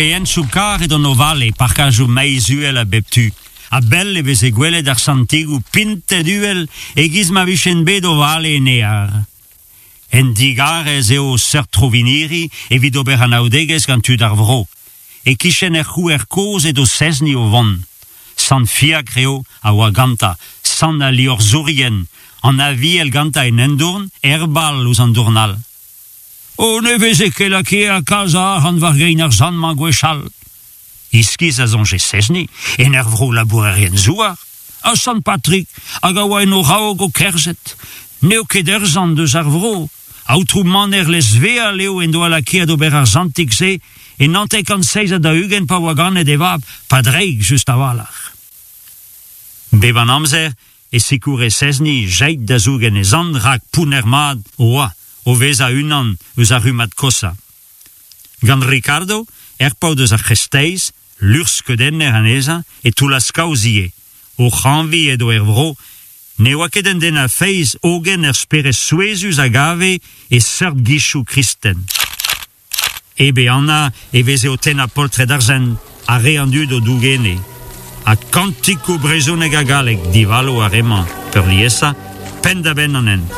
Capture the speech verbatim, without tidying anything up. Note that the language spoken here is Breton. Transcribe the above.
Dre hentchoù karr edont o vale, parkajoù maiz uhel a bep tu. A-bell e veze gwelet ar santigoù pintet uhel e-giz ma vijent bet o vale en ear. Un digarez eo seurt troviniri evit ober anaoudegezh gant tud ar vro. E-kichen er c'houer kozh edo Sezni o vont. Sant Fiakr eo a oa gantañ, sant al liorzhourien, an Aviel gantañ en un dourn, er bal ouzh an dourn all. O ne veze ket lakaet kalz a arc'hant war gein ar sant-mañ gwechall. Iskis a soñje Sezni, en ur vro labourerien-zouar, ha Sant Patrig hag a oa en o raok o kerzhet. N'eo ket ur sant eus ar vro. Aotrou Maner Lesveal eo en doa lakaet ober ar santig-se e naontek kant seizh ha daou-ugent pa oa ganet e vab, Padreig just a-walc'h. Bep an amzer e sikoure Sezni Jaid da zougen e zant rak pounner mat oa o vezañ unan eus ar rummad koshañ. Gant Ricardo, er paotr eus ar c'hreisteiz, luc'hskeudenner anezhañ, e toullas kaoz ivez. O c'hañviñ edo er vro, ne oa ket un den a feiz hogen ur spered souezhus a gave e seurt gizioù kristen. Hep ehanañ e veze o tennañ poltred ar sent, ha re an dud o dougene. Ha kantikoù brezhonek ha gallek divalo ar re-mañ peurliesañ, penn-da-benn an hent.